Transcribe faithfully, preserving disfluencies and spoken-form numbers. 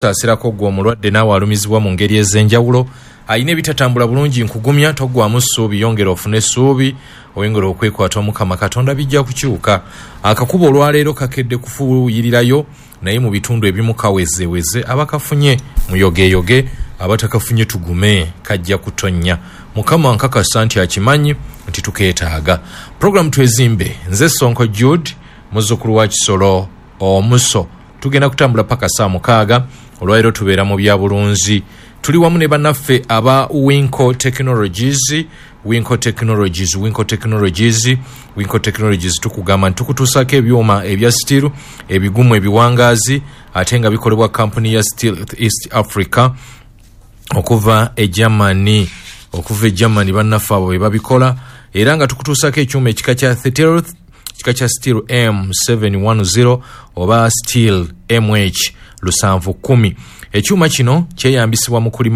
Saasirako ggwe omulwadde naawe alumizibwa mu ngeri ez'enjawulo, alina ebitatambula bulungi, nkugumya toggwamu ssuubi, yongera ofune essuubi, oyongera okwekwata Omukama Katonda, bijja kukyuka. Akakuba olwaleero kakedde kufuuyirirayo, naye mu bitundu ebimu kawezeweze. Abakafunye muyogeyoge, abatakafunye tugume, kajja kutonnya. Mukama nkakasa nti akimanyi nti tukeetaaga. Puroguramu Twezimbe, nze Sonko Jude, muzzukulu wa Kisolo Omuso. Tugenda kutambula paka saa mukaaga. Olwaleero tubeera mu byabulunzi, tuli wamu ne bannaffe aba Winco Technologies. Winco Technologies, Winco Technologies, Winco Technologies, tukugamba nti tukutuusako ebyuma ebya steel ebigumu, ebiwangaazi, ate nga bikolebwa kampuni ya Steel East Africa okuva e Germany, okuva e Germany. Bannaffe abo be babikola, era nga tukutuusako ekyuma ekika kya Thetelth, kika kya steel M seven ten oba steel M H lusanvu kumi. Ekyuma kino kyeyambisibwa mu kulima.